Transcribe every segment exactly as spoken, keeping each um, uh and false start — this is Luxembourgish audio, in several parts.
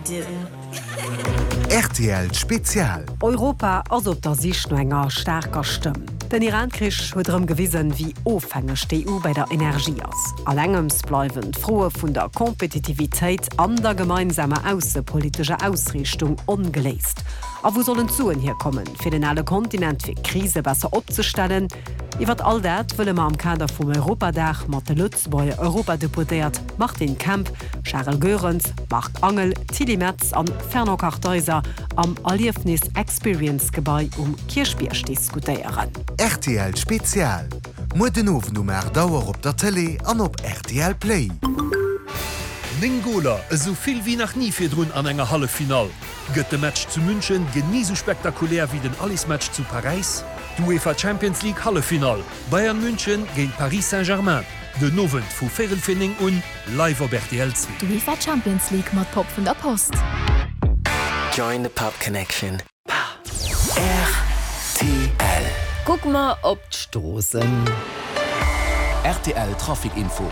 do. Rtl Spezial. Europa ass op der Sich no enger staarker Stëmm. Den Iran-Krich huet erëm gewisen, wéi ofhängeg d'EU bei der Energie ass. An engems bleiwen d'Froe vun der Kompetitivitéit an der gemeinsamer aussepolitescher Ausriichtung ongeléist. A wou sollen d'Suen hierkommen, fir den ale Kontinent fir Krise besser opzestellen? Iwwer all dat wëlle mer am Kader vum Europadag mat de Lëtzebuerger Europadeputéiert Martin Kemp, Charel Goerens, Marc Angel, Tilly Metz an Fernand Kartheiser am Erliefnis Experience Gebai um Kierchbierg diskutéieren. Rtl Spezial. Muer den Owend um aacht Auer op der Tëlee an op rtl Play. Néng Goler, esou vill wéi nach ni virdrun an enger Halleffinall. Gëtt de Match zu München genee sou spektakulär wéi den Allersmatch zu Paräis? D'UEFA Champions League Halleffinall, Bayern München géint Paris Saint-Germain, den Owend vu véierel vir néng un, live op rtl zwee. D'UEFA Champions League mat Pop vun der Post. Join the Pop Connection. Rtl. Kucke mer op d'Stroossen. Rtl Trafic Info.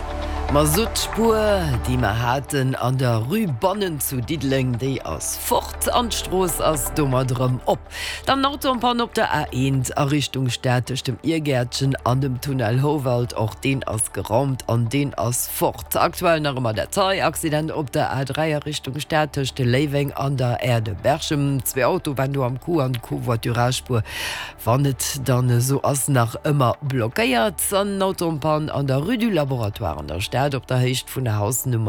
Ma sou d'Spuer, déi mer haten an der Rue Bannen zu Diddeleng, déi ass fort an d'Strooss ass domat rëm op. Dann Auto en panne op der A eent a Richtung Stad tëscht dem Irgäertchen an dem Tunnel Houwald, och deen ass geraumt an deen ass fort. Aktuell nach ëmmer dat hei Accident op der A dräi a Richtung Stad tëscht Léiweng an der Aire de Berchem. Zwee Autoe waren do am Coup an d'Covoiturage-Spuer, wann et dann esou ass, nach ëmmer blockéiert. An Auto en panne an der Rue du Laboratoire an der Stad op der Héicht vun der Hausnummer.